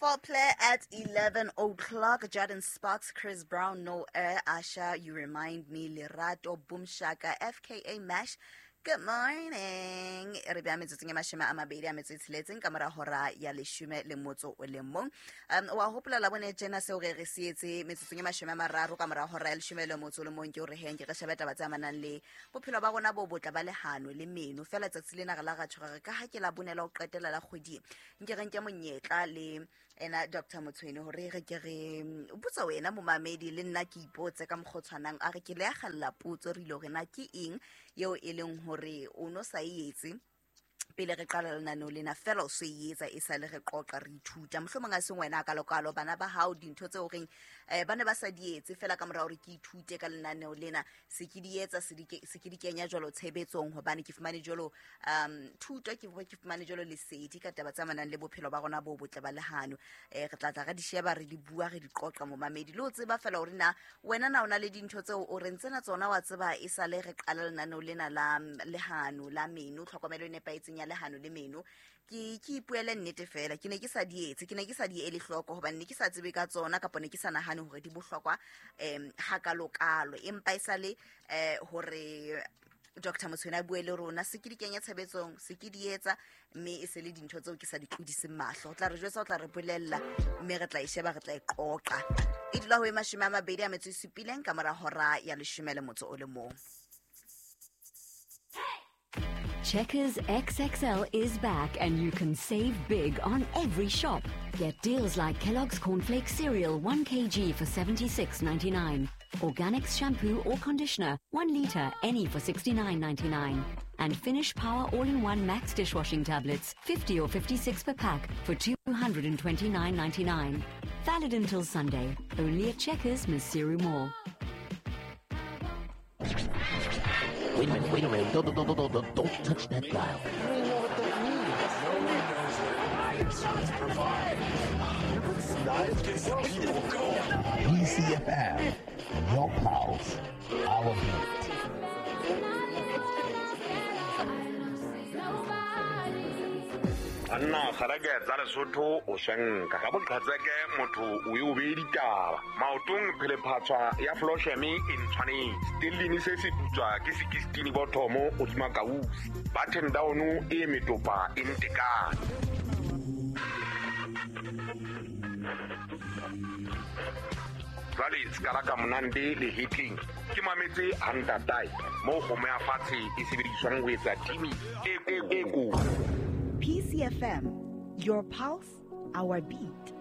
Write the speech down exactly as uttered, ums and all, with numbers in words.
Foreplay at eleven o'clock. Jordan Sparks, Chris Brown, No Air, Asha, You Remind Me, Lerato, Boom Shaka, F K A Mash. Good morning. Re bea metsotsong e mashome a mabedi a metso e tsheletseng ka mora hora ya leshome le motso o le mong. Um wa hopola la bone tjena seo re re se etse metsotsong e mashome a mararo ka mora hora ya leshome le motso o le mong, ke hore heng ke re shebe taba tse amanang le bophelo ba rona bo botle ba lehano le meno. Fela tsatsi lena re la ra tshwara re ka ha ke la bonela ho qetela la kgwedi. Nke re nke monyetla le ena Doctor Motshweni hore re ke re botsa wena momamedi le nna ke ipotse ka mokgwa o tshwanang, a re ke le akgella potso re ile hore na ke eng eo e leng hore o no sa e etse pele re qala lenaneo lena, fela o so e etsa e sa le re qoqa re ithuta. Mohlomong a seng wena ka lokalo bana ba hao dintho tseo reng eh ba ne ba sa di etse, fela ka mora hore ke ithute ka lenaneo lena se ke di etsa, se di se ke di kenya jwalo tshebetsong, hobane ke fumane jwalo um thuto, ke ke fumane jwalo lesedi ka taba tse amanang le bophelo ba rona bo botle ba lehano. Eh re tla tla re di sheba, re di bua, re di qoqa momamedi, le o tseba fela hore na wena na o na le dintho tseo o re ntsena tsona wa tseba e sa le re qala lenaneo lena la lehano la meno, tlhokomelo e nepahetseng ya lehano le meno. Ke ke ipuele nnete fela, ke ne ke sa di etse, ke ne ke sa di ele hloko hobane ne ke sa tsebe ka tsona, kapa ne ke sa nahane hore di bohlokwa em hakalokalo, empa e sa le eh hore Doctor Motshweni a bue le rona, se ke di kenya tshebetsong, se ke di etsa, mme e se le dintho tseo ke sa di tlodiseng mahlo. O tla re jwetsa, o tla re bolella, mme re tla e sheba, re tla e qoqa. E dula ho e mashome a mabedi a metso e supileng ka mora hora ya leshome le motso o le mong. Checkers X X L is back and you can save big on every shop. Get deals like Kellogg's Cornflakes cereal one kilogram for seventy-six ninety-nine, Organics shampoo or conditioner one litre any for sixty-nine ninety-nine, and Finish Power All-in-One Max dishwashing tablets fifty or fifty-six per pack for two hundred twenty-nine ninety-nine. Valid until Sunday. Only at Checkers, Maseru Mall. Wait a minute, wait a minute. Don't, don't, don't, don't, don't touch that dial. I don't even know what that means. No one knows what it means. Provide. People go. P C F M, your pulse, our beat. Anna kgarake tsa Lesotho o shenka ka boqhatseke motho o e o be ditaba maotong phelephatswa ya Flosheme e ntshwanetse stellini se se putswa ke sixteen bothomo o tsma kausi button down e metopa e ntekane. Jwale skala ka monande le hitting ke mametse hantatai mo kgomo ya fatshe e sebediswang ho etsa timi e e ko. P C F M, your pulse, our beat.